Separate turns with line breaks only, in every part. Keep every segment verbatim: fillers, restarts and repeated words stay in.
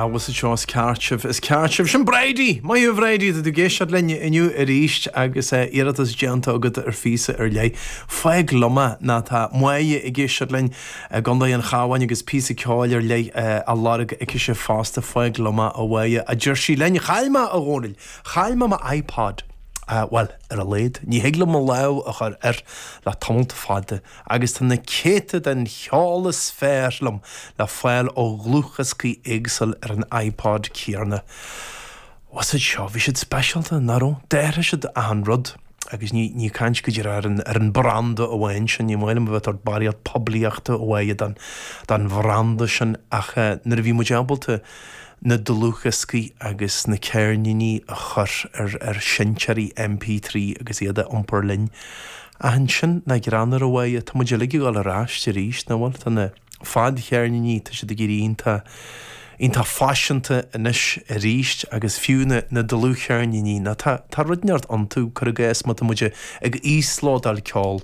Bhfuil fhios seo is ceart sibh is ceart sibh sin Bridie Maith a Bhridie tú ag éisteacht linn inniu arís agus iarratas déanta agat ar phíosa ar leith. Fág liom é ná tá Máire ag éisteacht linn i gContae an Chabháin agus píosa ceoil ar leith á lorg aici fosta fág liom é a Mháire a deir sí linn chaill mé a Dhónaill, chaill mé mo iPod. Uh, well, ar a laghad, ní thig liom mo lámh a chur air le tamall fada, agus tá na céadta den cheol is fearr liom le fáil ó dhlúthdhioscaí éagsúla ar an iPod céanna. Was it seo, bhí siad speisialta nach raibh, d'athraigh siad achan rud. agus ní ní caint go ar an ar an branda amháin sin ní maith liom bheith ag barraíocht poiblíochta a dhéanamh don don bhranda sin ach uh, nuair a bhí muid ábalta na dlúthdhioscaí agus na ceirníní a chur ar ar seinnteoirí MP trí agus iad a iompar linn. A ansin na greanar a bhaid tá muid uilig ag dul ar ais arís nach bhfuil tá na fadcheirníní tá siad ag éirí iontach iontach faiseanta anois arís agus fiú na na dlúthcheirníní ná tá tá rud inteacht iontu cur gas má tá muid ag íoslódáil ceol.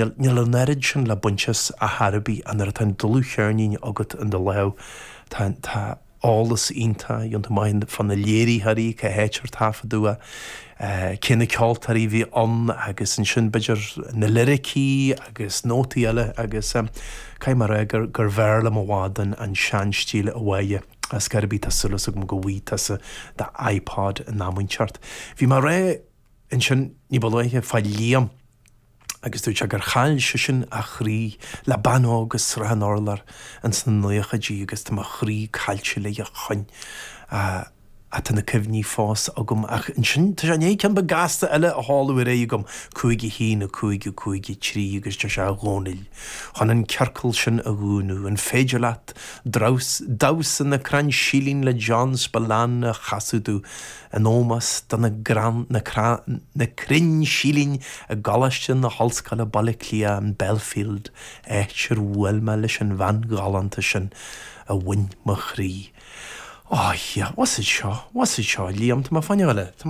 Níl níl an oiread sin le baint as a thairbhí an nuair atá an dlúthcheirnín agat in do lámh tá tá eolas iontach iontu maith fá na léiritheoirí cá háit ar taifeadadh é, cé na ceoltóirí bhí ann agus ansin b'fhéidir na liricí agus nótaí eile agus um, caithfidh mé rá gur gur bhfearr liom i bhfad an an seanstíl a bhaile as gairbí tá sulas agam go bhfaighidh tusa do iPod in am inteacht. Bhí mé rá ansin ní ba luaithe fá Liam agus dúirt sé gur chaill seisean a chroí le bean óg as Srath an Urláir ins na naochaidí agus tá mo chroí caillte léi ó shin. Uh, Tá na cuimhní fós agam ach ansin tá sé ceann beag gasta eile a sheoladh ar aghaidh agam cúig a haon a cúig a cúig a trí agus deir sé a Dhónaill. Chun an ciorcal sin a dhúnadh an féidir leat damhsa na gcrann silín le John Spillane a chasadh domh in ómós do na gran na, na crainn silín i gColáiste na hOllscoile Baile Átha Cliath an Belfield áit ar bhuail mé leis an bhean ghalánta sin a bhain mo chroí. Oh yeah, what's it seo? What's it seo? Liam tá má fanne eile